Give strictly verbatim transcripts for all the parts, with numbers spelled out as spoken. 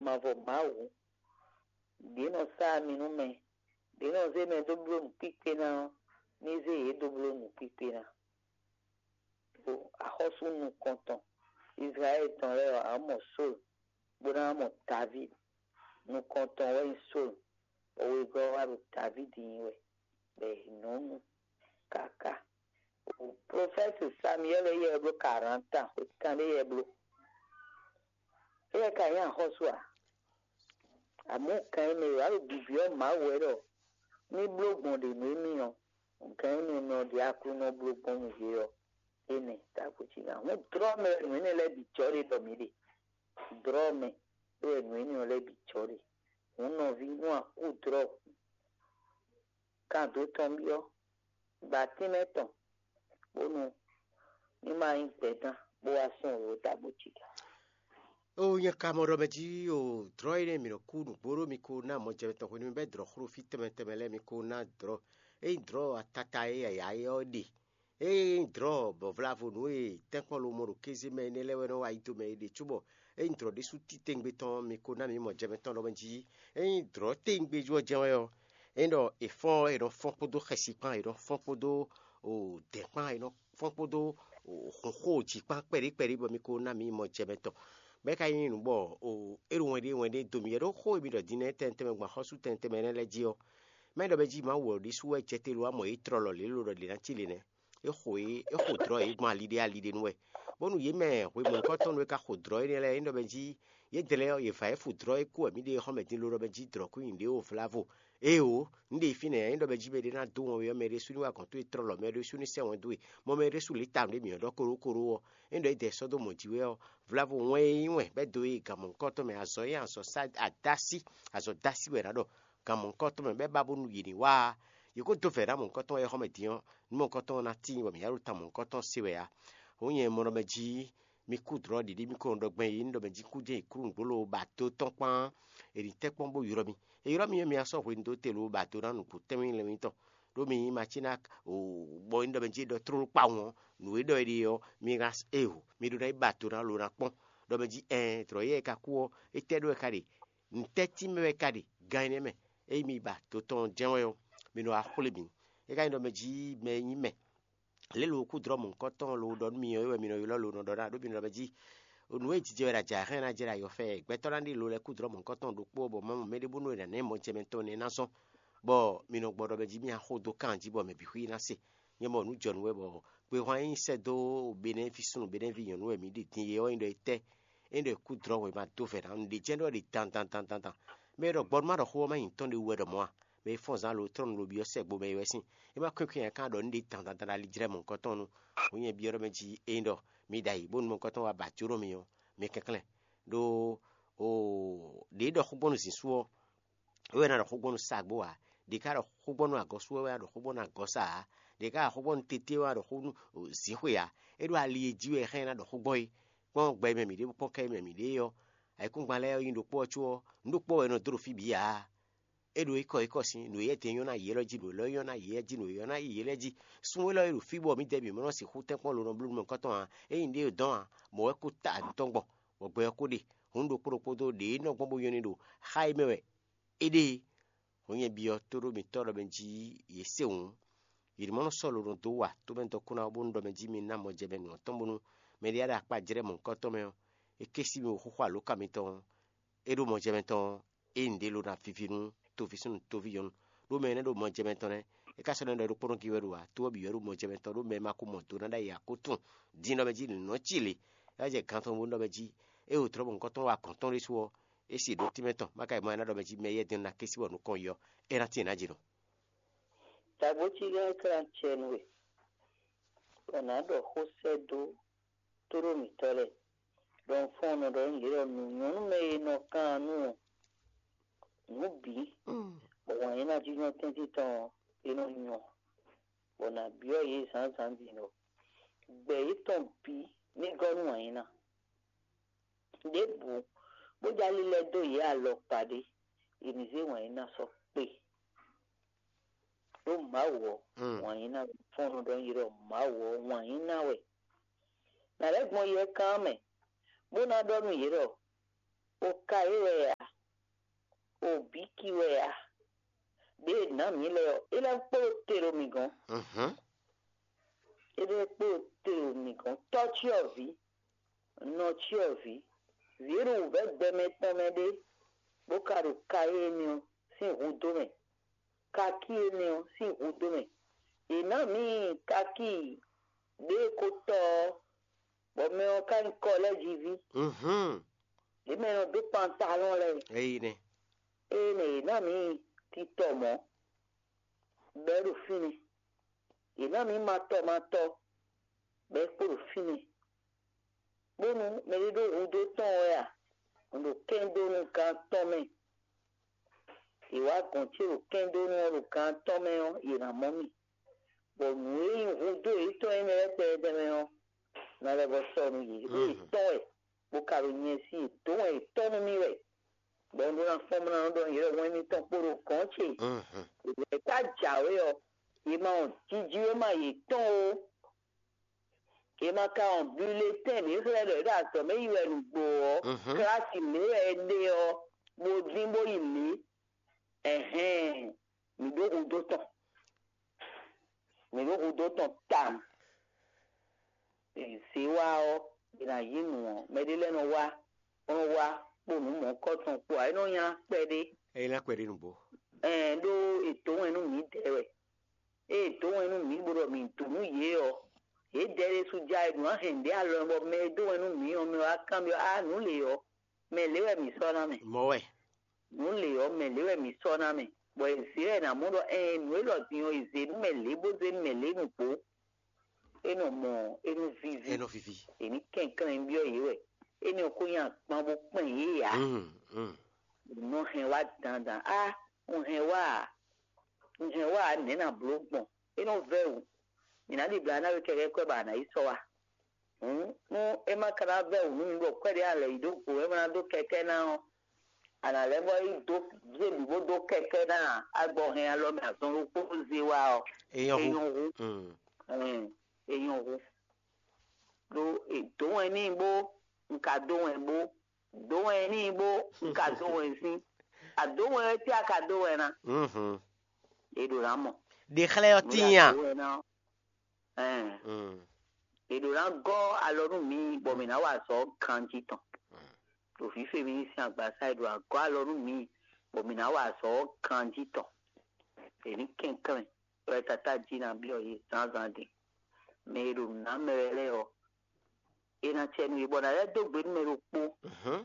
mavɔ Mawu. Ɖě nɔ sá ami nú mɛ, ɖě nɔ zé mɛ dó bló nǔkpíkpé ná ɔ́, ní zé yě dó bló nǔkpíkpé ná. Ɖo axɔ́sú nukɔntɔn Izlayɛ́li tɔn lɛ́ɛ ɔ́, a mɔ Sólu, bó ná mɔ Davídi. Nukɔntɔn wɛ nyí Sólu, bɔ wegɔ́ ɔ́ wá ɖo Davídi nyi wɛ, bɔ è nɔ nu káká. Profɛ́ti Samiyɛ́li e yɛ bló karanta, xwe kanɖé yɛ bló. Éyɛ́ ka nyí axɔ́sú ǎ. Amɔ̌ kan e mɛ e wǎ ɖo bibyɔ́ Mawu wɛ ɖɔ ní bló gbɔn ɖě nú émí ɔ́, gǎn énɛ́ e nɔ ɖe Aklúnɔ bló gbɔn nú yě ɔ́, énɛ́ távo cí ná. Hǔn dlɔ́ mɛ wɛ nǔ énɛ́ lɛ́ɛ bǐ jɔ ɖe ɖɔ mǐ ɖe. Dlɔ́ mɛ wɛ nǔ énɛ́ ɔ́ lɛ́ɛ bǐ jɔ ɖe. Hǔn nɔví, nú a kú dlɔ́ kan dó tɔn byɔ́, ba tínmɛ tɔn, bónú ní ma nyí gbɛ̌dán bó wá sɔn wěwé távo cí gǎ. O nyɛ ka mɔ ɖɔ mɛ jí o dlɔ̌ énɛ́ mǐ nɔ kú nǔgbó ɖó mi ko ná mɔjɛmɛ tɔn hwenu mi bɛ́ dlɔ̌ xló fí tɛnmɛ tɛnmɛ lɛ́ɛ mi ko ná dlɔ̌. Ényí dlɔ̌ atata e yǎyá é ɔ́ ɖe, ényí dlɔ̌ bɔ vlavo nǔ e tɛ́nkpɔ́n lomɔ ɖo kéze mɛ énɛ́ lɛ́ɛ wɛ nɔ wá yi do mɛ é ɖe cóbɔ ényí dlɔ̌ ɖésú títewungbe tɔn mi ko ná mǐ mɔjɛmɛ tɔn ɖɔ mɛ jí. Ényí dlɔ̌ tewungbe jú ɔ́ jɛ́n wɛ ɔ́, ényí ɖɔ è fɔ́n ɔ́, è nɔ fɔ́n kpódó xɛsi kpán, è nɔ fɔ́n kpódó dɛ̌n kpán, è nɔ fɔ́n kpódó xǒxo jí kpán kpɛɖé kpɛɖé bɔ mi ko ná mǐ mɔjɛmɛ tɔn. Bɔ é ka nyí nǔ bɔ é ɖo wɛn ɖé wɛn ɖé do mì yɛ ɖó xó e mi ɖɔ din nɛ́ tɛnmɛ tɛnmɛ gbɔn axɔ́sú tɛnmɛ tɛnmɛ nɛ́ lɛ́ɛ jí ɔ́, mɛ ɖɔ mɛ jí Mawu wɛ ɖésú wɛ jɛ te lo wá mɔ yě tlɔlɔ lě lo ɖɔ ɖě ná cí lě nɛ́. É xo yě é xo dlɔ̌ yě gbɔn ali ɖé ali ɖé nu wɛ, bónú yě mɛ hwemɔ̌kɔ́tɔn e ka xo dlɔ̌ énɛ́ lɛ́ɛ é ɖɔ mɛ jí yě dlɛ́ ɔ́, yě vǎ é fu dlɔ̌ é kú wɛ mǐ ɖe xɔ́mɛ din lo ɖɔ mɛ jí dlɔ̌ kú nyi ɖě o vlavo. Éeǒ, un ɖe fínɛ́ é ɖɔ mɛ jí mɛ ɖé ná dó wɔn ɔ́, mɛ ɖésú ní wa gɔ̌n towe tlɔlɔ, mɛ ɖésú ní sɛ́ wɛn dó we, mɔ mɛ ɖésú lě ta nǔɖé mǐ ɔ́ ɖɔ kóɖókóɖó ɔ́, é ɖɔ é dɛ sɔ́ dó mɔ̌ jí wɛ ɔ́, vlavo wɛn e nyí wɛn bɛ́ dó e gan mɔ̌hunkɔtɔn mɛ, azɔ̌ e azɔ̌ sá adásí, azɔ̌ dásí wɛ è nǎ ɖɔ gan mɔ̌hunkɔtɔn mɛ bɛ́ ba bónú yě ní wá. Yě ko dó vɛ̌ ná mɔ̌hunkɔtɔn wɛ xɔ́mɛ din ɔ́, nú mɔ̌hunkɔtɔn ɔ́ ná tíin bɔ mǐ ná ɖo tan mɔ̌hunkɔtɔn se wɛ ǎ. Hǔn nyɛ mɔ ɖɔ mɛ jí mi kú dlɔ̌ ɖiɖi mi ko nɔ ɖɔ gbɛn yě ní ɖɔ mɛ jí kú jɛ́n yi klú nǔgbó lo ba dó tɔn kpán è nǐ tɛ́ kpɔ́n bó ylɔ́ mi. È ylɔ́ mi ɔ́, mi ná sɔ́ hwenu dó te lo ba dó ná nǔgbó tɛ́nmɛ lɛ́ɛ mi tɔn. Ɖó mi nyí Matínak bɔ é ɖɔ mɛ jí é ɖɔ tlóló kpawun ɔ́, nǔ e ɖɔ é ɖe ɔ́, mi ná e o, mi ɖó ná yi ba dó ná lo ná kpɔ́n. Ɖɔ mɛ jí ɛɛn, dlɔ̌ yɛ e ka kú ɔ́, étɛ́ ɖó wɛ ka ɖe? Nǔtɛ́ tínmɛ wɛ ka ɖe gan énɛ́ mɛ? Ényí mi ba dó tɔn jɛ́n wɛ ɔ́, mi nɔ wá xwlé mǐ. É ka nyí ɖɔ mɛ jí mɛ e nyí mɛ lě lo kú dlɔ́ mɔ̌hunkɔtɔn lo ɖɔ nú mi ɔ́, é wɛ mi nɔ ylɔ́ lo nɔ ɖɔ ná ɖó mi nɔ ɖɔ mɛ jí nǔ e jijɛ wɛ ɖo ajǎ hɛn ná jɛ ɖo ayɔ fɛ gbɛtɔ́ ná ɖi lo lɛ́ɛ kú dlɔ́ mɔ̌hunkɔtɔn ɖokpó ɔ́, bɔ Mawu mɛ ɖé bónú è nǎ ná mɔjɛmɛ tɔn nɛ́ ná zɔ́n, bɔ mi nɔ gbɔ ɖɔ mɛ jí mì axo dó kan jí bɔ mɛ bǐ xwí ná se. Nyɛ mɔ nǔ jɔ nú wɛ bɔ gbehwan e nyi sɛ́ dó Benɛ́ví súnnu Benɛ́ví nyɔ̌nu wɛ mǐ ɖi din é ɔ́ nyí ɖɔ étɛ́? É ɖɔ è kú dlɔ́ wɛ ma dó vɛ̌ ná nǔɖé jɛ́n ɖɔ ɖi dan dan dan dan dan. Mɛ e ɖɔ gbɔ nú má ɖɔ xó ɔ́ má nyi tɔn ɖé wú wɛ ɖɔ mɔ̌ a? Mɛ e fɔ́n zǎn lo trɔ́nu lo byɔ́ sɛ́ gbo mɛ é wɛ sín. É má kwɛ́nkwɛ́n nya ká ɖɔ nǔɖé dan dan dan ali jlɛ́ mɔ̌hunkɔtɔn nu. Hǔn nyɛ byɔ́ ɖɔ mɛ jí ényí ɖɔ mi ɖo ayǐ bónú mɔ̌hunkɔtɔn wá ba jó nú mi ɔ́, mi kɛnklɛ́n. Ɖó ɖě ɖɔ xó gbɔn nú zǐn sú ɔ́, é wɛ ná ɖɔ xó gbɔn nú sagbó ǎ. Ɖě ká ɖɔ xó gbɔn nú agɔ̌sú wɛ wɛ ná ɖɔ xó gbɔn nú agɔ̌sá ǎ. Ɖě ká ɖɔ xó gbɔn nú tété wɛ ná ɖɔ xó nú zǐxwe ǎ. É ɖo ali e jí wɛ xá ɛ ná ɖɔ xó gbɔn é. Kpɔ́n gbɛ e mɛ mǐ ɖe kpɔ́n kɛ e mɛ mǐ ɖe é ɔ́, ayǐkúngban lɛ́ɛ ɔ́ nyí ɖokpó ɔ́ có ɔ́, nǔ ɖokpó wɛ è nɔ dó ɖo fí bǐ ǎ. É ɖo ékɔ ékɔ sín nǔ e yɛ́ din nyɔ́ ná yě élɔ́ jí, nǔ élɔ́ nyɔ́ ná yě lɛ́ɛ jí, nǔ e nyɔ́ ná yě lɛ́ɛ jí. Sun élɔ́ e ɖo fí bɔ mǐdɛɛ bǐ mɔ nɔ sixú tɛ́nkpɔ́n lo nɔ bló nú mɔ̌hunkɔtɔn ǎ. Ényí ɖě dɔn ǎ, mɔ̌ wɛ kó ta nǔ tɔn gbɔn, bɔ gbɛ ɔ́ kó ɖe. Hǔn ɖokpó ɖokpó dó ɖě nɔ gbɔn bó nyɔ́ ní ɖo xá e mɛ wɛ é ɖe é. Hǔn nyɛ byɔ́ tó ɖó mitɔ́ ɖɔ mɛ jí yě se hǔn, yě ní mɔ nɔ sɔ́ lo nɔ dó wa tó mɛ dɔkun ná bónú ɖɔ mɛ jí mi ná mɔ jɛ mɛ nǔ ɔ́ tɔn bónú mɛ ɖé ɖo akpá jlɛ́ mɔ̌hunkɔtɔn mɛ ɔ́, é ké sí mi xóxó alǒkan mitɔn ɔ́, é ɖó mɔ jɛ mɛ tɔn ɔ́, é nyí ɖě lo ná vivi nú toví súnnu toví nyɔ̌nu. Ɖó mɛ énɛ́ ɖo mɔ jɛ mɛ tɔn nɛ́, é ka sɔ́ nɔ ɖɔ ɖokpónɔ gí wɛ ɖo ǎ, tó ɔ́ bǐ wɛ ɖo mɔ jɛ mɛ tɔn ɖó mɛ ma ko mɔ do ná ɖ'ayǐ ǎ kó tunwun din ɖɔ mɛ jí nǔ nɔ cí lě. É wá jɛ gan tɔn bónú ɖɔ mɛ jí é wǒ tlɔ́ mɔ̌hunkɔtɔn wá gɔ̌n tɔn ɖésú ɔ́, é se ɖǒ tínmɛ tɔn, má ka yi mɔ ɛ ná ɖɔ mɛ jí mɛ yɛ́ din ná ké sí bɔ nǔ kɔn yi ɔ́, é ná tíin nǎ jǐ nɔ. Tagbócí lɛ́ɛ tlán acɛ nú we, bɔ nǎ ɖɔ xó sɛ́ dó tóɖó mǐtɔn lɛ́ɛ, ɖɔ un fɔ́n un nɔ ɖɔ nú yě ɖɔ nǔ nyɔ́ nú mɛ e nɔ kan nú ɔ́, nǔ bǐ, bɔ wǎn e ná jínjɔ́n tɛ́ntin tɔn ɔ́, é nɔ nyɔ, bɔ nǎ byɔ́ yě zǎnzǎn din ɖɔ gbɛ yětɔn bǐ ní gɔ́ nú wǎn yí ná. Ɖěbǔ bó jɛ ali lɛ́ɛ dó yě alɔkpa ɖé, è nǐ zé wǎn yí ná sɔ́ kpe. Ɖó Mawu ɔ́, wǎn yí ná wɛ. Fɔ́n nɔ ɖɔ nú yě ɖɔ Mawu ɔ́, wǎn yí ná wɛ. Nǎ lɛ́ gbɔn yɛ kán mɛ, bó ná ɖɔ nú yě ɖɔ: O ka yě wɛ a? ná mǐ lɛ́ɛ ɔ́, é lɛ́ kpo te ɖo mǐ gɔ́n. Mhm. É lɛ́ kpo te ɖo mǐ gɔ́n. Tɔ́ cyɔ́vǐ, nɔ cyɔ́vǐ, vǐ e ɖo wǔvɛ́ gbɛmɛ tɔn mɛ ɖé, bó ka ɖo ka énɛ́ ɔ́ sín hudó mɛ, kakí énɛ́ ɔ́ sín hudó mɛ. È nǎ mǐ kakí ɖě e ko tɔ ɔ́, bɔ mɛ ɔ́ ka nyí kɔlɛ́jiví. Mhm. Ɖě mɛ e nɔ dó pantalɔ́n lɛ́ɛ. Eyi nɛ. Ée nɛ yě ná mǐ titɔ mɔ̌, bɔ é ɖo fínɛ́. Yě ná mǐ matɔ matɔ, bɔ é kpo ɖo fínɛ́. Bónú mɛɖé ɖó hudó tɔn wɛ a, un ɖo kɛ́n dó nú gán tɔn mɛ. Yě wá gɔ̌n ce ɖo kɛ́n dó nú ɔ́ ɖo gán tɔn mɛ ɔ́, yě ná mɔ mì. Bɔ nǔ e nyí hudó yětɔn énɛ́ lɛ́ɛ tɛnmɛ ɔ́, ná lɛ́ vɔ sɔ́ nú yě. Ɖó yě tɔn wɛ, bó ka ɖo nyɛ sí yě dó wɛn yětɔn nú mì wɛ. Bɔ un ɖó ná fɔ́n bó ná nɔ ɖɔ yě ɖɔ wɛn mitɔn kpo ɖo gɔ̌n ce. Yě ka jǎwe ɔ́, yě ma wɔn jijǐwéma yětɔn ó. Yě ma ka wɔn bulletɛn ɖě xlɛ́ ɖɔ yě ɖo azɔ̌ mɛ yi wɛ nǔgbó ɔ́, klasi lě wɛ è ɖe ɔ́, bó dín bó yi lě. Ɛhɛn, mǐ ɖó hudó tɔn. Mǐ ɖó hudó tɔn tawun. Zě wá ɔ́, è nǎ yí nǔ ɔ́, mɛɖé lɛ́ɛ nɔ wá, bó nɔ wá kpo nǔ mɔ̌hunkɔtɔn kpó ǎ. É nɔ nylá kpɛɖé. É ná kpɛɖé nǔgbó. Ɛn ɖó è dǒ wɛn nú mǐdɛɛ wɛ. Ée è dǒ wɛn nú mǐ bó ɖɔ mǐ dǒ nú yě ɔ́, yědɛɛ ɖésú já e ɖǒ ná hɛn nǔɖé alɔ bɔ mɛ e dó wɛn nú mǐ ɔ́ mɛ wá kanbyɔ́ á nǔ lě ɔ́, mɛ lě wɛ mǐ sɔ́ ná mɛ. Mɔ̌ wɛ. Nǔ lě ɔ́, mɛ lě wɛ mǐ sɔ́ ná mɛ, bɔ è zě wɛ è nǎ mɔ ɖɔ ɛɛn nǔ élɔ́ din ɔ́, è zě nú mɛ lě bó zé nú mɛ lě nǔgbó. É nɔ mɔ, é nɔ víví. É nɔ víví. È ní kɛnklɛ́n byɔ́ yě wɛ. Énɛ́ ɔ́ ko nyi agban bó kpɛn yě ǎ. Mm, mm. Nɔ hɛn wá dandan. Á, un hɛn wá a? Un hɛn wá a? Nɛ̌ ná bló gbɔn? É nɔ vɛ́ wǔ. Mǐ ná ɖibla ná we kɛkɛ́ kwɛ́ bɔ a nǎ yi sɔ́ wá. Hǔn, nú é ma ka ná vɛ́ wǔ nú mi bɔ kwɛ́ɖé a lɛ̌ yi dó go, é ma ná dó kɛkɛ́ ná ɔ́, a nǎ lɛ́ vɔ yi dó zé bǐ bó dó kɛkɛ́ ná a? Agbɔ hɛn alɔ mɛ azɔn ɖokpó zé wá ɔ́, É nyɔ́ é hú. Nyɔ́ hú. Mm. Ɛn, é nyɔ́ hú. Ɖó è dǒ wɛn n'i bó un ka dó wɛn bó, dǒ wɛn n'i bó un ka dó wɛn sín. A dǒ wɛn wɛ tɛ́ a ka dó wɛn ná? Mhm. È ɖǒ ná mɔ. Ɖě xlɛ́ ɔ́ Nǔ tíin ɖé a? A dǒ wɛn ná ɔ́, ɛn, Mm. è ɖǒ ná gɔ́ alɔ nú mǐ bɔ mǐ ná wa azɔ̌ ganjí tɔn. Ɖo fífé mǐ sín agbasá è ɖǒ ná gɔ́ alɔ nú mǐ bɔ mǐ ná wa azɔ̌ ganjí tɔn. È ní kɛnklɛ́n wɛ tatá jí ná byɔ́ yě zǎnzǎn din. Mɛ e ɖo nǔ ná mɛ wɛ lɛ́ɛ ɔ́, è nǎ cɛ nú yě bɔ nǎ lɛ́ dó gbe nú mɛ ɖokpó. Mhm.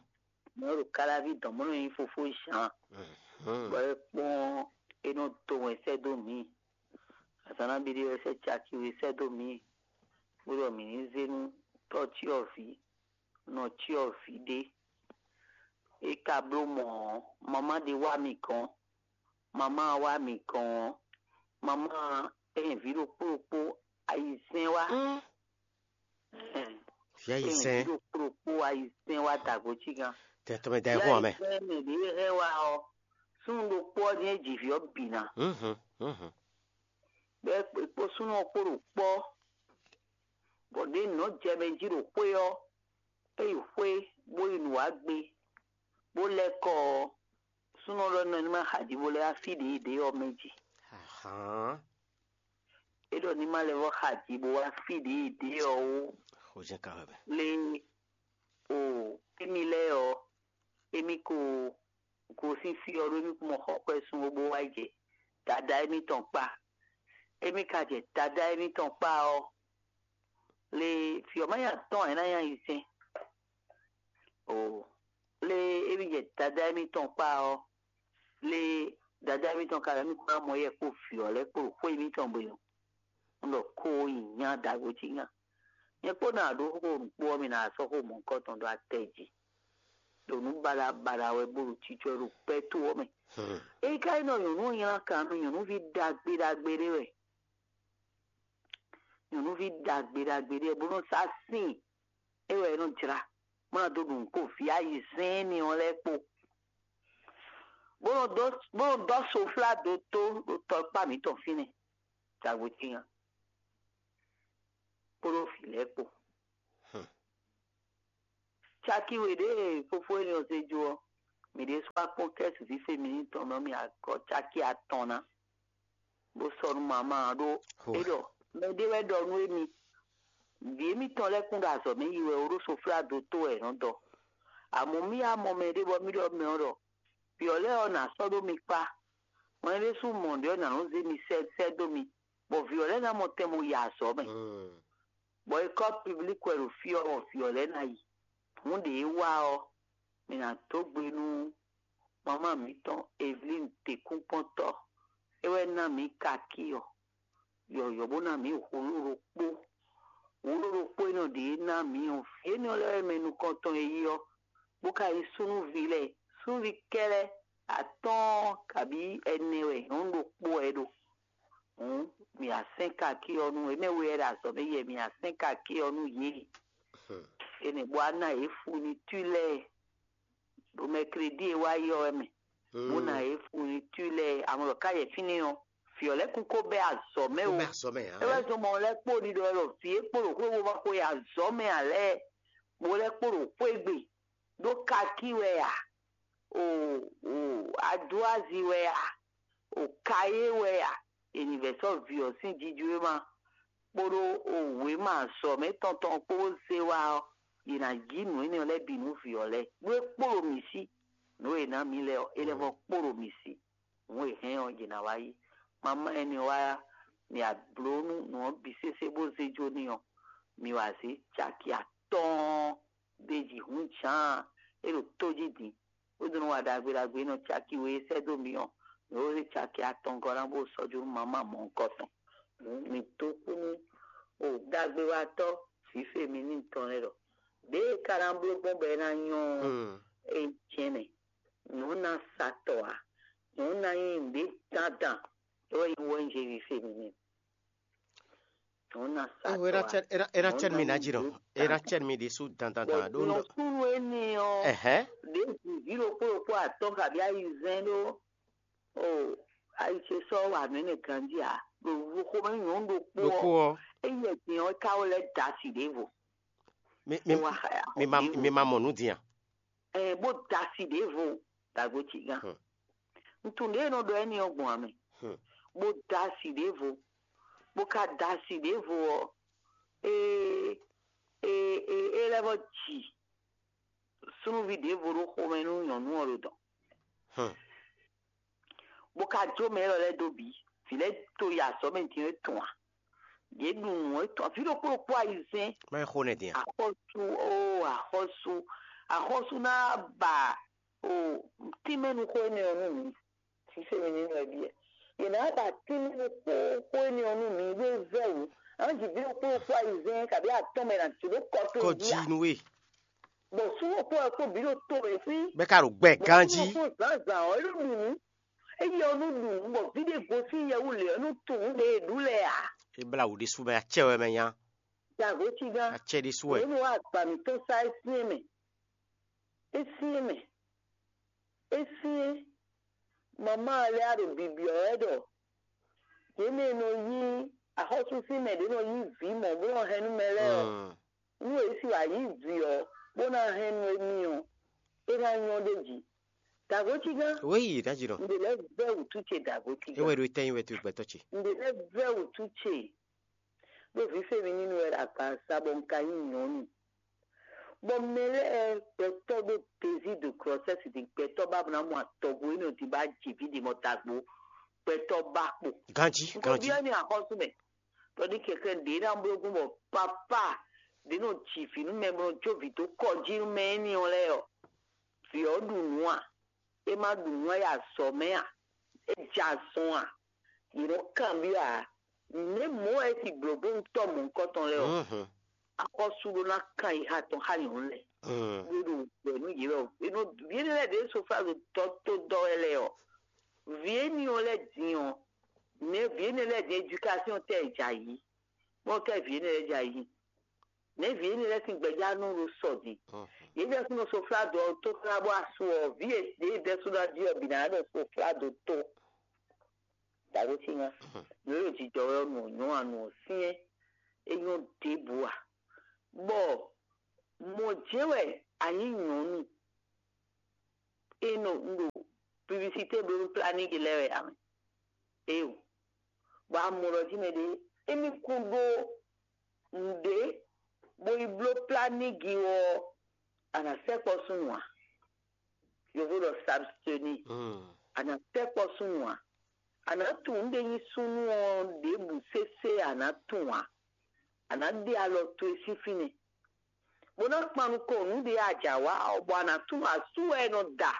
Mɔ̌ ɖo Káláví dɔn mɔ̌ nɔ nyí fofó Zǎn, Mhm. bɔ é kpɔ́n é nɔ dó wɛn sɛ́ dó mǐ. Azǎn nabí ɖé wɛ sɛ́ caki we sɛ́ dó mǐ, bó ɖɔ mǐ ní zé nú tɔ́ cyɔ́vǐ, nɔ cyɔ́vǐ ɖé. É ka bló mɔ̌ ɔ́, mamá ɖé wá mì gɔ́n. Mamá wá mì gɔ́n ɔ́, mamá ɛ nyɛ vǐ ɖokpó ɖokpó ayizɛ́n wá. Mm. Ɛn, Vǐ ɛ nyɛ ayizɛ́n. Vǐ ɖokpó ɖokpó ayizɛ́n wá dagbo cí gán. Tɛ tɔmɛ da Vǐ ɛ hɔn amɛ. Ayizɛ́n mɛ ɖě hɛn wá ɔ́, súnnu ɖokpó ɔ́ jɛ́n ji vǐ ɔ́ bǐ ná. Mhm, mhm. Bɔ é kpo súnnu ɔ́ kpo ɖo kpɔ́, bɔ ɖě nǔ nɔ jɛ mɛ jí ɖo xwé ɔ́, é yi xwé bó yi nǔ wá gbé, bó lɛ́ kɔ ɔ́, súnnu ɔ́ ɖɔ nɔ ní ma xa ji bó lɛ́ wá fí ɖě ɖě ɔ́ mɛ jí. Ahán. É ɖɔ ní ma lɛ́ vɔ́ xa ji bó wá fí ɖě ɖě ɔ́ ó. Xó jɛ́n ka wɛ bɛ. Lé o émi lɛ́ɛ ɔ́, émi ko gosín fí ɔ́ ɖó émi kún mɔ xɔ xwɛ́ sun ó bó wá yi jɛ dadá émítɔn kpá. Émi ka jɛ dadá émítɔn kpá ɔ́, lé fí ɔ́ má nya tɔn ɛ ná nya yi sɛn. O lé émi jɛ dadá émítɔn kpá ɔ́, lé dadá émítɔn ka lɛ́ mì kún ná mɔ yɛ kpó vǐ ɔ́ lɛ́ɛ kpó ɖo xwé émítɔn gbe ɔ́, un ɖɔ kó yi nya dǎgbó cí nya. Nyɛ kpó ná ɖó xó nǔkpó ɔ́, mi ná sɔ́ xó mɔ̌hunkɔtɔn ɖó atɛ jí. Ɖo nǔ baɖa baɖa wɛ bó ɖo cícɔ ɖo gbɛ́ tó ɔ́ mɛ. Hmm. Ényí ka nyí ɖɔ nyɔ̌nu ɔ́ nylá kan nú nyɔ̌nuví ɖagbe ɖagbe ɖé wɛ. Nyɔ̌nuví ɖagbe ɖagbe ɖé wɛ bó nɔ́ sá sín é wɛ é nɔ jlá, bó ná dó ɖu nǔ kpó vǐ ayizɛ́n énɛ́ ɔ́ lɛ́ɛ kpó. Bó nɔ dó bó nɔ dó soflá dó tó ɖo tɔkpá mǐtɔn fínɛ́. Dǎgbó tíin ǎ. Kpódó vǐ lɛ́ɛ kpó. Hmm. Caki we ɖě e fofó énɛ́ ɔ́ zé jó ɔ́, mǐ ɖésú wá kpɔ́n kɛ́su fífé mǐ tɔn mɛ ɔ́, mì agɔ̌ caki atɔn ná. bó sɔ́ nú mama ɔ́ ɖó é ɖɔ mɛɖé wɛ ɖɔ nú émi. Vǐ émítɔn lɛ́ɛ kún ɖo azɔ̌ mɛ yi wɛ ó ɖó soflá dó tó wɛ è nɔ dɔ. Amɔ̌ mì wá mɔ mɛɖé bɔ mì ɖɔ mɛ ɔ́ ɖɔ vǐ ɔ́ lɛ́ɛ ɔ́ nǎ sɔ́ ɖó mi kpá. Mɔ̌ é ɖésú mɔ ɖě ɔ́ nǎ nɔ́ zé mi sɛ́ sɛ́ dó mi, bɔ vǐ ɔ́ lɛ́ɛ ná mɔ tɛn bo yi azɔ̌ mɛ. Bɔ é kɔ́ piblík wɛ ɖo fí ɔ́, bɔ vǐ ɔ́ lɛ́ɛ ná yi. Hǔn ɖě é wa ɔ́, mi ná dó gbe nú mamá mǐtɔn Evelín Tekúnkpɔ́ntɔ́. É wɛ ná mǐ kakí ɔ́, yɔ̌yɔ́ bó ná mǐ hǔlú ɖokpó. Hǔlú ɖokpó énɛ́ ɖě ná mǐ ɔ́, vǐ énɛ́ lɛ́ɛ wɛ mɛ nukɔntɔn e yí ɔ́, bó ka nyí súnnuví lɛ́ɛ. Súnnuví kɛ́ɖɛ́ atɔ́ɔ́n kabǐ ɛnɛ wɛ nyɔ̌nu ɖokpó wɛ é ɖo. Hǔn mǐ wá sɛ́n kakí ɔ́ nú énɛ́ we wɛ ɖo azɔ̌ mɛ yɛ mǐ wá sɛ́n kakí ɔ́ nú yě. Énɛ́ bó wá ná yě funitú lɛ́ɛ ɖo mɛkledí e wá yi ɔ́ wɛ mɛ, bó ná yě funitú lɛ́ɛ. Amɔ̌ ɖɔ ká yɛ fínɛ́ ɔ́, vǐ ɔ́ lɛ́ɛ kún ko bɛ́ azɔ̌ mɛ ó. Bɛ́ azɔ̌ mɛ ǎ. É wɛ zɔn mɔ lɛ́ɛ kpo ɖiɖɔ wɛ ɖɔ vǐ e kpo ɖo xwé bó ma xwe yi azɔ̌ mɛ ǎ lɛ́ɛ, bó lɛ́ kpo ɖo xwé gbe, ɖó kakí wɛ a, o o adúazi wɛ a, o kayé wɛ a, è nǐ vɛ̌ sɔ́ vǐ ɔ́ sín jijwéma kpódó o wěma azɔ̌ mɛ tɔn tɔn kpó bó zé wá ɔ́, yě ná jí nǔ énɛ́ lɛ́ɛ bǐ nú vǐ ɔ́ lɛ́ɛ. Nú é kpo ɖo mǐ sí, nǔ e è nǎ mǐ lɛ́ɛ ɔ́, é lɛ́ vɔ́ kpo ɖo mǐ sí. Nǔ e hɛn ɔ́, yě ná wá yí. Mama énɛ́ ɔ́ wá, mǐ wá bló nú nǔ ɔ́ bǐ sésé bó zé jó n'i ɔ́, mǐ wá zé caki atɔ́ɔ́n ɖ'é jí hǔn Jǎan e ɖo tó jí din, bó dó nɔ wa ɖagbe ɖagbe e nɔ caki we e sɛ́ dó mǐ ɔ́, mǐ ko zé caki atɔngɔ́ ná bó sɔ́ jó nú mama mɔ̌hunkɔtɔn. Hǔn mǐ dó kú nú o ɖagbewatɔ́ vǐ Feminini tɔn lɛ́ɛ ɖɔ: Ɖěe é ka ná bló gbɔn bɔ é ná nyɔ́ ɔ́, é jɛ́n nɛ́. Nyɔ̌nu ná sa tɔ ǎ. Nyɔ̌nu ná nyí nǔɖé dandan, é wɛ nyí wɛnjéví Feminini. Nyɔ̌nu ná sa tɔ ǎ. É ná cɛ́ mi ná jí nɔ. É ná cɛ́ mi ɖésú dandan dan ɖó nɔ. Nyɔ̌nu énɛ́ ɔ́, ɖě vǐví ɖokpó ɖokpó atɔ́ kabí ayizɛ́n ɖó o ayi ce sɔ́ wa nǔ énɛ́ ganjí ǎ. Ɖo xomɛ nyɔ̌nu ɖokpó ɔ́, é yɛ din ɔ́, é ka wɛ lɛ́ da asi ɖěvo. Mi mi mi ma mi ma mɔ nǔ din a? Ɛɛ, bó da asi ɖěvo ɖo agbo ce gán. Ntun ɖě e nɔ ɖɔ ɛ́nɛ ɔ́ gbɔn ame, bó da asi ɖěvo, bó ka da asi ɖěvo ɔ́, é é é é lɛ́ vɔ ji súnnuví ɖěvo ɖó xomɛ nú nyɔ̌nu ɔ́ ɖo dɔ̌n. Bó ka jó mɛ élɔ́ lɛ́ɛ dó bǐ. Vǐ lɛ́ɛ to yi azɔ̌ mɛ din é tɔn ǎ. Yě ɖu nǔ é tɔn vǐ ɖokpó ɖokpó ayizɛ́n. Má é xo nɛ din a? Axɔ́sú ó axɔ́sú axɔ́sú ná ba o tínmɛnuxó énɛ́ ɔ́ nú mǐ. Sísé mi ní nɔ ɛ byɔ́. Yě ná ba tínmɛnuxó xó énɛ́ ɔ́ nú mǐ ɖó é vɛ́ wǔ. Á jí vǐ ɖokpó ɖokpó ayizɛ́n kabí atɔ́ mɛ ná jí ɖó kɔ towe jí a? Kɔ jí nú we. Bɔ súnnu kpó ɛ kpó bǐ ɖo to e fí. Bɛ ka ɖo gbɛ ganjí. Kpó zǎnzǎn ɔ́ é ɖo ɖu nǔ. Eye ɔ́ nú ɖu nǔ bɔ vǐ ɖé gosín yɛ wú lě ɔ́ nú tunwun ɖe e ɖu lɛ́ɛ ǎ. É blá wǔ ɖésú mɛ acɛ wɛ mɛ nya. Dǎgó cí gán. Acɛ ɖésú wɛ. Òun wá agba mǐtɔn sá é syɛ́n mɛ. É syɛ́n mɛ. É syɛ́n. Mamá lɛ́ɛ á ɖo bibyɔ́ wɛ ɖɔ yě mɛ e nɔ yí axɔ́súsí mɛ ɖě nɔ yí vǐ mɔ̌ bó nɔ hɛn nú mɛ lɛ́ɛ ɔ́. Nú è si wǎ yí vǐ ɔ́, bó ná hɛn nú émí ɔ́, é ná nyɔ́ ɖ'é jí. Dǎgó cí gán. Wéyi ɖájínɔ. Ǹdè lɛ́ɛ vɛ́ wǔtú ce dǎgó cí gán. É wɛ ɖo tɛ́nyí wɛ towe gbɛtɔ́ ce. Ǹdè lɛ́ɛ vɛ́ wǔtú ce. Ɖó vǐ Feminini wɛ ɖo agbaza bɔ un ka nyí nyɔ̌nu. Bɔ mɛ lɛ́ɛ gbɛtɔ́ ɖó désir de grossesse din gbɛtɔ́ ba bó ná mɔ atɔgbo énɛ́ ɔ́ din ba ji vǐ din mɔ dagbo gbɛtɔ́ ba kpo. Ganjí ganjí. Nko byɔ́ ní axɔ́sú mɛ. Tɔdí kɛkɛ ɖě ná bló gbɔn bɔ papa ɖě nɔ ji vǐ nú mɛ bó nɔ jó vǐ dó kɔ jí nú mɛ énɛ́ ɔ́ lɛ́ɛ ɔ́, vǐ ɔ́ ɖu nǔ a? É má ɖu nǔ a yi azɔ̌ mɛ a? É jɛ azɔn a? Yě nɔ kanbyɔ́ ǎ. Nɛ̌ mɔ̌ wɛ é ti blǒ bónú tɔ́ mɔ̌hunkɔtɔn lɛ́ɛ ɔ́? Axɔ́sú ɖó ná kan yi xá tɔn xá nyɔ̌nu lɛ́ɛ. Bó ɖo gbɛ nú yě wɛ. Yě nɔ yě lɛ́ɛ ɖě sofázo dɔ́ tó dɔ́ wɛ lɛ́ɛ ɔ́. Vǐ éní ɔ́ lɛ́ɛ din ɔ́, nɛ̌ vǐ énɛ́ lɛ́ɛ din éducation tɛ jɛ ayǐ? Bɔ kɛ vǐ énɛ́ lɛ́ɛ jɛ ayǐ. Nɛ̌ vǐ énɛ́ lɛ́ɛ sín gbɛjánú ɖo sɔ din? Yě jɛ súnnu sofázo ɔ́ tó xlá bó asú ɔ́, vǐ e ɖě dɛ́ sú ná jí ɔ́ bǐ ná ɖo sofázo tó. Dǎgosín nya. Nǔ e ɖo jijɔ wɛ ɔ́, nǔ ɔ́ nyɔ́ a nǔ ɔ́ syɛ́n, é nyɔ́ ɖěbǔ a? Bɔ mɔ̌ jɛ́n wɛ a nyǐ nyɔ̌nu e nɔ un ɖo publicité bló nú planning lɛ́ɛ wɛ a mɛ. Éeǒ. Bɔ a mɔ ɖɔ jí mɛ ɖé émí kún ɖó nǔɖé bó yi bló plá n'i gi ɔ́, a nǎ sɛkpɔ́ súnnu ǎ. Yovó ɖɔ s'abstenir. A nǎ sɛkpɔ́ súnnu ǎ. A nǎ tunwun nǔɖé nyí súnnu ɔ́ ɖěbǔ sésé a nǎ tunwun ǎ. A nǎ ɖe alɔ towe sín fínɛ́, bó ná kpan nukɔn nǔɖé a jǎ wa ɔ́, bɔ a nǎ tunwun asú wɛ è nɔ da.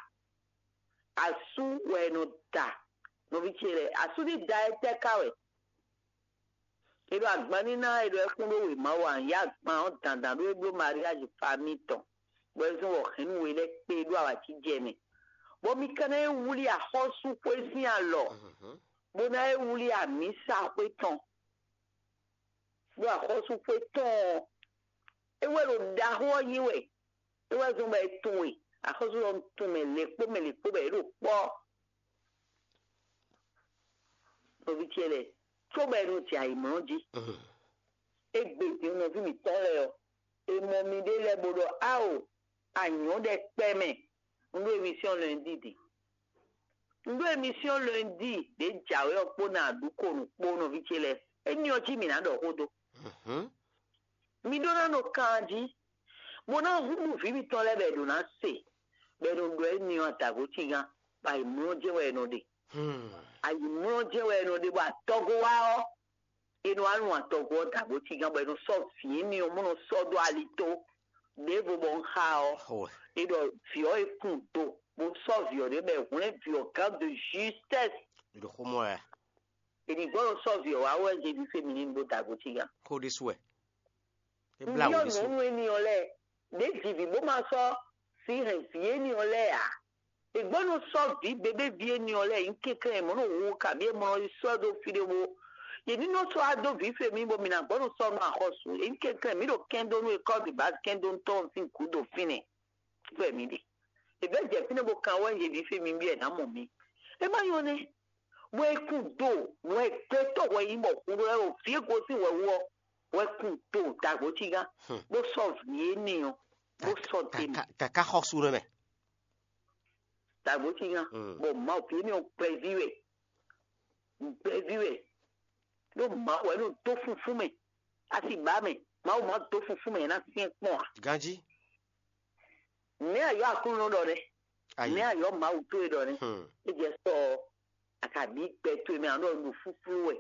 Asú wɛ è nɔ da. Nɔví ce lɛ́ɛ, asú ní da étɛ́ ká wɛ? È ɖo agban ní ná è ɖo ɛkún ɖó wěma wɛ a? Yě agban ɔ́ dandan ɖó é bló mariage famille tɔn, bɔ é zɔ́n bɔ hɛ̌nnu we lɛ́ɛ kpé ɖó awǎjijɛ mɛ, bɔ mi ka ná é wlí axɔ́súxwé sín alɔ, bó ná é wlí amǐsaxwé tɔn. Ɖó axɔ́súxwé tɔn ɔ́, é wɛ ɖo ɖaxó ɔ́ nyi wɛ. É wɛ zɔ́n bɔ è tunwun we. Axɔ́sú ɔ́ tunwun mɛ lě kpó mɛ lě kpó bɔ yě ɖo kpɔ́. Nɔví ce lɛ́ɛ, cóbɔ è nɔ jɛ ayǐmlɔ́ jí. Égbé din nɔví mǐtɔn lɛ́ɛ ɔ́, è mɔ miɖée lɛ́ɛ bó ɖɔ: Ao, a nyɔ̌ ɖɛkpɛ mɛ. Un ɖó émission lundi din. Un ɖó émission lundi ɖě jǎwe ɔ́ kpó ná aɖǔkonu kpó nɔví ce lɛ́ɛ. Éní ɔ́ jí mǐ ná ɖɔ xó dó. Mi ɖó ná nɔ kan jí, bó ná húzú vǐ mitɔn lɛ́ɛ bɔ è ɖǒ ná se, bɔ è nɔ ɖɔ éní ɔ́ adǎgó cígán, bɔ ayǐmlɔ́ jɛ́n wɛ è nɔ ɖe. Ayǐmlɔ́ jɛ́n wɛ è nɔ ɖe, bɔ atɔgo wá ɔ́, è nɔ wá nu atɔgo ɔ́ dǎgó cígán, bɔ è nɔ sɔ́ vǐ éní ɔ́, bó nɔ sɔ́ dó ali tó. Ɖěvo bɔ un xa ɔ́, è ɖɔ vǐ ɔ́ e kun do, bó sɔ́ vǐ ɔ́ ɖé bɔ è hwlɛ́n vǐ ɔ́ gán de justesse. Ɖo xó mɔ wɛ. È ní gbɔdɔ sɔ́ vǐ ɔ́ wá wɛ Jezu féminin bó dǎgó cígán. Xó ɖésú wɛ. É Un blá wǔ byɔ́ ɖésú. Nyɔ̌nu éní ɔ́ lɛ́ɛ, ɖě ji vǐ bó ma sɔ́ sí hɛn vǐ éní ɔ́ lɛ́ɛ ǎ. È gbɔ́ nɔ sɔ́ vǐ bebé ví éní ɔ́ lɛ́ɛ nyí kɛnklɛ́n, è mɔ̌ nɔ hu kabǐ è mɔ nɔ yi sɔ́ ɖó fí ɖé bó. Yě ní nɔ sɔ́ wá dó vǐ fe mì bɔ mǐ ná gbɔ́ nɔ sɔ́ nú axɔ́sú. È nyí kɛnklɛ́n, mǐ ɖo kɛn dó nú école de base kɛn dó nú tɔn sín gǔdo fínɛ́. Fɛ mǐ ɖe. È vɛ́ jɛ fínɛ́ bó kan wɛ yě vǐ fe mì bí è nǎ mɔ mǐ. É má nyɔ́ nɛ́. Wɛ kun do, wɛ gbɛtɔ́ wɛ nyí bɔ hun ɖó wɛ o vǐ e gosín wɛ wú ɔ́, wɛ kun do dǎgbó cígán, bó sɔ́ vǐ énɛ́ ɔ́, bó sɔ́ te mɛ. Kaka xɔsu nɛ mɛ. Dǎgbó cígán, bɔ Mawu vǐ énɛ́ ɔ́ gbɛví wɛ, gbɛví wɛ, ɖó Mawu wɛ nɔ dó funfún mɛ, asi ba mɛ, Mawu ma dó funfún mɛ ná syɛ́n kpɔ́n ǎ. Ganjí. Nɛ̌ ayɔ́ Aklúnɔ ɖɔ nɛ́? Ayi. Nɛ̌ ayɔ́ Mawu towe ɖɔ nɛ́? Hmm. É jɛ sɔ ɔ́, a ka bǐ gbɛ towe mɛ, a ɖɔ un ɖo flúflú wɛ,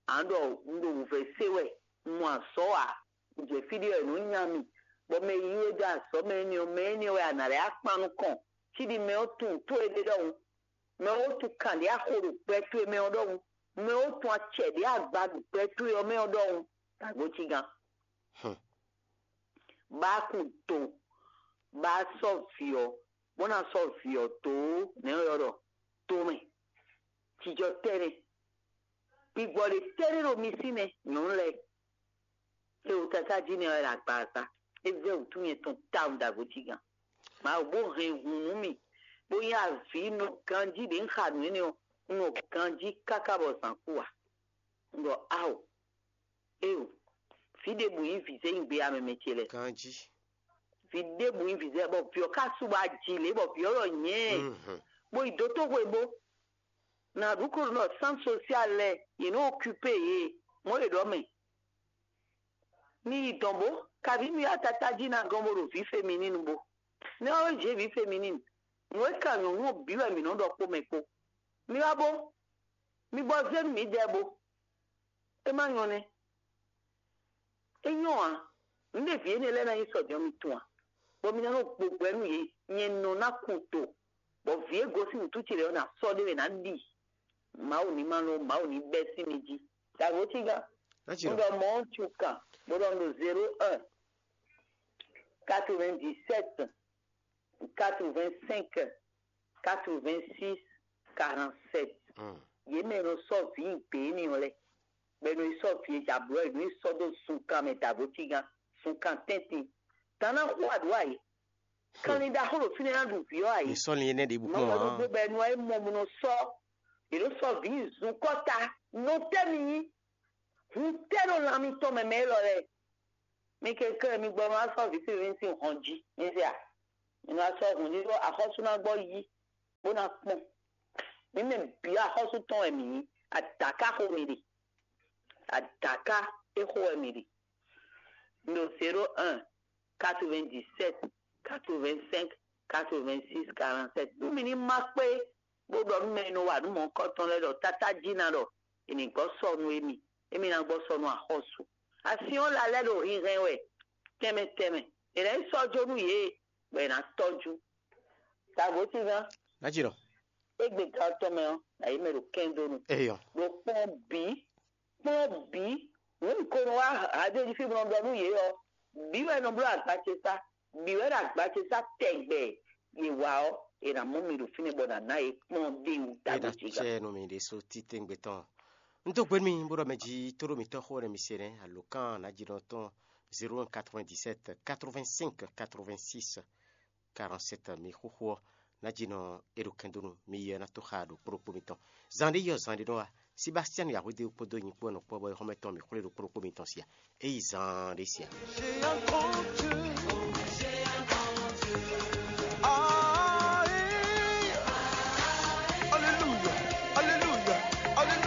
a ɖɔ un ɖo wǔvɛ́ se wɛ, un mɔ azɔ̌ ǎ, un jɛ fí ɖé wɛ nǔ nya mì, bɔ mɛ e yí we dó azɔ̌ mɛ énɛ́ ɔ́, mɛ énɛ́ wɛ a nǎ lɛ́ akpan nukɔn, cí ɖi mɛ ɔ́ tunwun tó e ɖe ɖɔhun. Mɛ ɔ́ tunwun kan ɖě a xo ɖo gbɛ towe mɛ ɔ́ ɖɔhun. Mɛ ɔ́ tunwun acɛ ɖě a gba ɖo gbɛ towe ɔ́ mɛ ɔ́ ɖɔhun. Dǎgbó cígán. Hmm. Bá kun to, bá sɔ́ vǐ ɔ́, bó ná sɔ́ vǐ ɔ́ dó nɛ̌ ɔ́ ylɔ́ ɖɔ tomɛ. Jijɔ tɛ́nɛ, gbigbɔ ɖě tɛ́nɛ ɖo mi sí mɛ, nyɔ̌nu lɛ́ɛ. Xewútátájí nɛ́ wɛ ɖo agbaza. É vɛ́ wǔtú nyɛ tɔn tawun ɖo agojígán. Mawu bó hɛn hun nú mì, bó nyí avǐ nɔ ganjí ɖě un xa nǔ énɛ́ ɔ́, un nɔ ganjí káká bɔ zǎn kú ǎ. Un ɖɔ ao, éo, vǐ ɖěbǔ nyí vǐzɛ́nyigbe amɛmɛ ce lɛ́ɛ. Ganjí. Vǐ ɖěbǔ nyí vǐzɛ́ bɔ vǐ ɔ́ ka su bɔ aji lě bɔ vǐ ɔ́ ɖɔ nyɛ̌. Mhm. Bó yi dó tó hwebó. Na ɖu ko nɔ sán sosial lɛ, yě nɔ okupé yě, mɔ̌ yě ɖɔ mɛ. Mi yi dɔn bó, kaví mi wá tata jí ná gɔ́n bó ɖo vǐ femininu bó. Nɛ́ wá wɛ jě vǐ femininu. Nǔ e ka nyɔ̌nu ɔ́ bǐ wɛ mǐ nɔ ɖɔ kpó mɛ kpó. Mi wá bó, mi gbɔ zé nú mǐdɛɛ bó. É má nyɔ́ nɛ́. É nyɔ́ ǎ. Nǔɖé vǐ énɛ́ lɛ́ɛ ná nyí sɔ́ din ɔ́, mi tunwun a? Bɔ mi ná nɔ gbogbo ɛ nú yě, nyɛ nɔ ná kun to, bɔ vǐ e gosín wǔtú ce lɛ́ɛ ɔ́ ná sɔ́ ɖé mɛ ná ɖi. Mawu ní ma nɔ, Mawu ní bɛ́ sín mi jí. Dǎgbó cígán. Láti Un nɔ. Ɖɔ mɔ̌ tu kan, bó ɖɔ un ɖo zéro un, quatre-vingt-dix-sept, quatre-vingt-cinq, quatre-vingt-six, quarante-sept. Mm. Yě mɛ e nɔ sɔ́ vǐ gbě énɛ́ ɔ́ lɛ́ɛ, bɔ è nɔ yi sɔ́ vǐ e jɛ ablɔ̌ è nɔ yi sɔ́ dó zunkan mɛ dǎgbó cígán, zunkan tɛ́ntin. Tan ná xo aɖǔ a yě. Kanlin ɖaxó ɖo fínɛ́ ná ɖu vǐ ɔ́ a yě. Mi sɔ́ lin énɛ́ ɖěbǔ Mama kpɔ́n ɖokpó ǎ. Bɔ è nɔ wá yi mɔ mɔ nɔ sɔ́, è nɔ sɔ́ vǐ zun kɔ́ta. Nɔ tɛ́ mi nyí? Hun tɛ́ ɖo lan mitɔn mɛ mɛ élɔ́ lɛ́ɛ. Mi kɛnklɛ́n mi gbɔ ma sɔ́ vǐ sín sín hɔn jí. Mi se a? Mi nɔ sɔ́ hɔn jí ɖó axɔ́sú ná gbɔ yí, bó ná kpɔn. Mǐ mɛ bǐ axɔ́sú tɔn wɛ mǐ nyí. Adaka xo mi ɖe. Adaka é xo wɛ mi ɖe. Un ɖo zéro un, quatre-vingt-dix-sept, quatre-vingt-cinq, quatre-vingt-six, quarante-sept. Nú mi ní má kpé bó ɖɔ nú mɛ e nɔ wa nǔ mɔ̌hunkɔtɔn lɛ́ɛ ɖɔ tátájí ná ɖɔ è nǐ gbɔ sɔnu émí, émí ná gbɔ sɔnu axɔ́sú. Asyɔ́n la lɛ́ ɖo hinhɛn wɛ tɛnmɛ tɛnmɛ. È nǎ yi sɔ́ jó nú yě, bɔ è nǎ tɔ́jú. Dǎgǒtíngán, Ná jǐ nɔ. Égbé gan tɔn mɛ ɔ́, nǎ yi mɛ ɖo kɛ́ndónú. Eyɔ. Ɖo kpɔ́n bǐ, kpɔ́n bǐ, nǔ ko nɔ wá hadéji fí nɔ ɖɔ nú yě ɔ́, bǐ wɛ nɔ bló agba ce sá, bǐ wɛ ɖo agba ce sá tɛgbɛ. Yě wá ɔ́, è nǎ mɔ mi ɖo fínɛ́ bɔ nǎ ná yě kplɔ́n ɖ'é wú. Dǎgǒtíngán. Cɛ nú mi ɖésú títɛ́ngbé tɔn. Un dó gbe nú mi bó ɖɔ mɛ jí tóɖó mitɔn xó nɛ́ mi se nɛ́, alǒkan nǎjínɔ tɔn zéro un quatre-vingt-dix-sept quatre-vingt-cinq quatre-vingt-six quarante-sept. Mi xúxú ɔ́, nǎjínɔ é ɖo kɛndónú mi yi ɔ́ ná tó xa ɖo kpóɖokpó mitɔn. Zan ɖé yi ɔ́, zan ɖé nɔ wá. Sebastian Yahwede kpódó nyi kpó nɔ kpɔ́ bɔ é xɔ́mɛ tɔn mi xwlé ɖo kpóɖokpó mitɔn sia. É yi zan ɖé sia.